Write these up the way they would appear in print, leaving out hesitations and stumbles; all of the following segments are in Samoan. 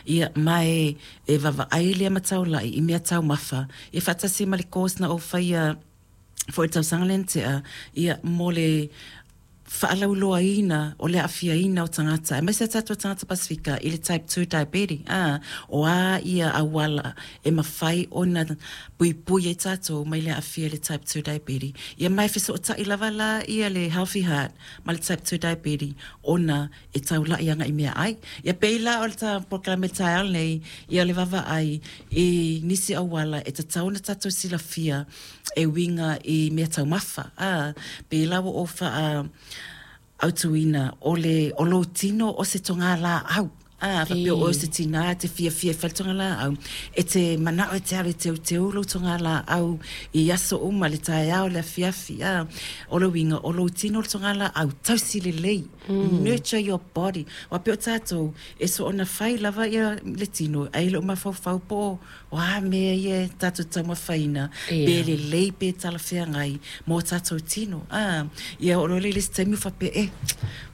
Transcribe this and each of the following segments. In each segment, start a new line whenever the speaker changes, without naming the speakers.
Ia, ma e vaavaai lea ma taulai i mea taumafa, ia faatasi ma le course na ou faia foi i le tausaga lea na tea, ia, mo le faalauiloaina o le aafiaina o tagata, aemaise a tatou tagata Pasefika i le type 2 diabetes, a, o a ia auala e mafai ona puipui ai tatou mai le aafia i le type 2 diabetes. Ia ma e fesootai lava la ia le Healthy Heart ma le type 2 diabetes ona e taulai agai i meaai. Ia pei la o le ta polokalame i le taeao lenei, ia o le vaavaai i nisi auala e tatau ona tatou silafia e uiga i mea taumafa. A, pei la ua ou faa autuina o le o lou tino o se togalaau. A, faapea o oe o se tinā e te fiafia e fai le togalaau, e te manao e te alu e teuteu lou togalaau i aso uma, le taeao, le afiafi, a. O le uiga, o lou tino le togalaau, tausi lelei, nurture your body. Aua pei o tatou, e soona fai lava ia le tino, ae le o mafaufau po o O a mea ia e tatou taumafaina, pe lelei pe talafeagai mo tatou tino. A, ia oo loa lea i le isi taimi ua faapea, e,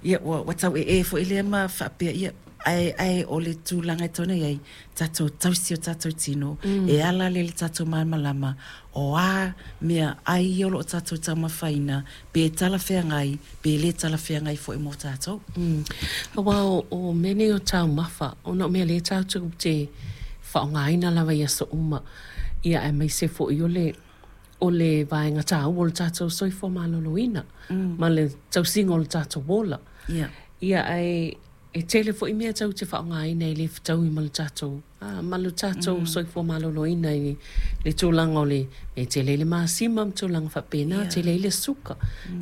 ia ua, ua tau ee foi lea ma faapea, ia, ae, ae o le tulaga e tatau ona i ai, tatou tausi o tatou tino, e ala lea i le tatou malamalama, o a mea ai ia o lo o tatou taumafaina, pe talafeagai, pe le talafeagai foi mo tatou.
Aua o mea nei o taumafa, ona o mea lea tatou te faaaogaina lava i aso uma, ia aemaise foi o le o le vaega taua o le tatou soifua maloloina ma le tausiga o le tatou ola. Ia ae e tele foi mea tatou te faaaogaina e le fetaui ma le tatou ma lo tatou soifua maloloina i le tulaga o le mea e tele ai le masima ma tulaga faapena, tele ai le suka.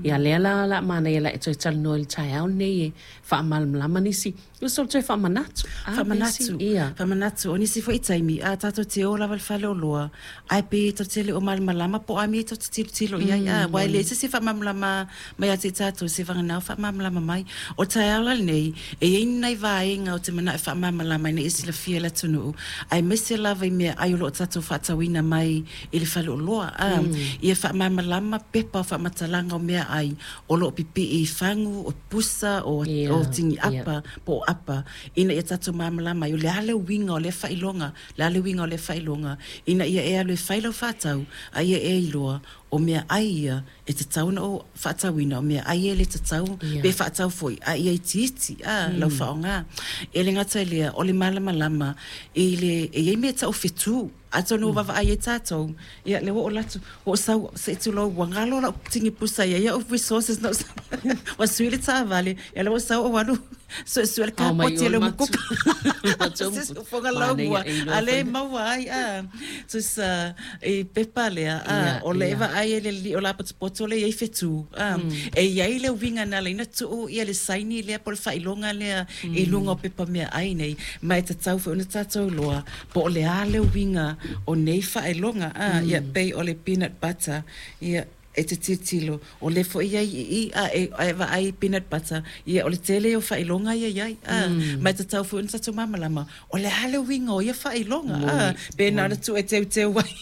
Ia lea la o le a manaia o le a e toe talanoa i le taeao lenei e faamalamalama nisi, o le toe faamanatu.
Faamanatu, faamanatu. O nisi foi taimi, a tatou te o lava i le faleoloa, ae pei tatou te le o malamalama po o a mea tatou te tilotilo i ai, a, aua e leai se isi e faamalamalama mai ia te tatou, seivagana o faamalamalama mai. O le taeao la lenei, e i ai ni nai vaega ou te manao e faamalamalama ina ia silafia e le atunuu, aemaise lava i meaai o lo o tatou faatauina mai i le faleoloa, a, ia faamalamalama pepa o faamatalaga o meaai o lo o pipii i fagu, o pusa, o, o tini apa, po o apa, ina ia tatou malamalama ai, o le a le uiga o lea faailoga, le a le uiga o lea faailoga, ina ia e alu e fai lau faatau, a ia e iloa, o meaai ia e tatau ona ou faatauina, o meaai ia e le tatau, pe faatau foi, a ia itiiti, a, lau faaaoga. E le gata i lea, o le malamalama i le, e i ai mea e tau o fetu, atonu ua vaavaai ai tatou, ia lea ua ou alu atu, ua ou sau, se i tulou, ua galo lau tini pusa e i ai au resources na ou sau, ua sui le taavale, ia lea ua ou sau ou alu suesue le kapoti a le umukuka. Fofoga lau a lea e maua ai a tusa i pepa lea a o lea e vaai ai le alii o lapotopoto lea e i ai fetu a e i ai le uiga na ala ai ona tuu ia le saini lea po o le faailoga lea i luga o pepa meaai nei ma e tatau foi ona tatou iloa po o le a le uiga o nei faailoga a ia pei o le peanut butter ia e te tilotilo, o lea foi e i ai i i, a e, a e vaai i peanut butter, ia o le tele ia o faailoga ia e i ai, a, ma e tatau foi ona tatou malamalama, o le a le uiga o ia faailoga, a, pe na ona tuu e teuteu ai.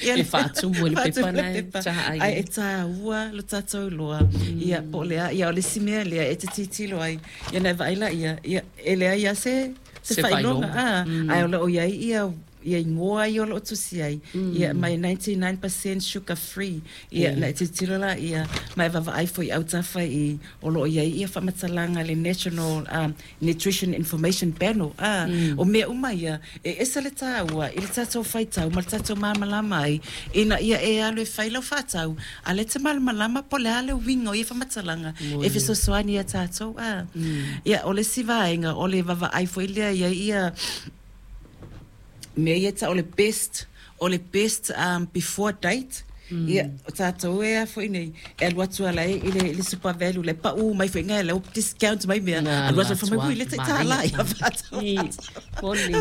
Ia, e faatumu i le pepa na e taai.
Ae e tāua lo tatou iloa, ia, po o le a, ia o le isi mea lea e te tilotilo ai, ia ona e vaai laia, ia, e leai lava se, se faailoga, a, ae o lo o i ai ia ia igoa ia o lo o tusi ai, ia mai 99% sugar free, ia na e tilotilo laia, ma e vaavaai foi i autafa i o lo o i ai ia faamatalaga a le National Nutrition Information Panel, a, o mea uma ia, e ese le tāua i le tatou faitau ma le tatou malamalama ai, ina ia e alu e fai lau faatau, a o lea e te malamalama po o le a le uiga o ia faamatalaga e fesoasoani iā tatou, a. Ia, o le isi vaega, o le vaavaai foi lea i ai ia mea ia e tau o le best, o le best before date, ia, o tatou e a foi nei, e alu atu lava i le, i le Super Valu, la e pau mai foi ngai, la ua discount mai mea, alu atu fai mai, ui, le tai $1 ia faatau,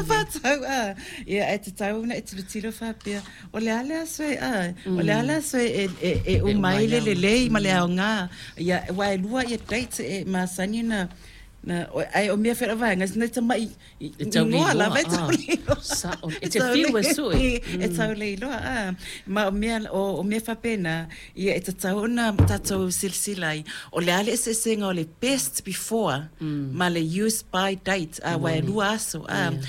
faatau, a. Ia, ae tatau ona e tilotilo faapea, o le a le aso e, a, o le a le aso e, e, e uma ai le lelei ma le aoga, ia, aua e lua ia dates e masani ona, na, ae o mea foi o le vaega, nai tamai
E tau le iloa lava e tau le iloa. Sao. E te whiu e sue.
E tau le iloa a. Ma o mea o mea faapena ia e tatau ona tatou silasila ai o le a le eseesega o le best before ma le use by date a aua e lua aso a.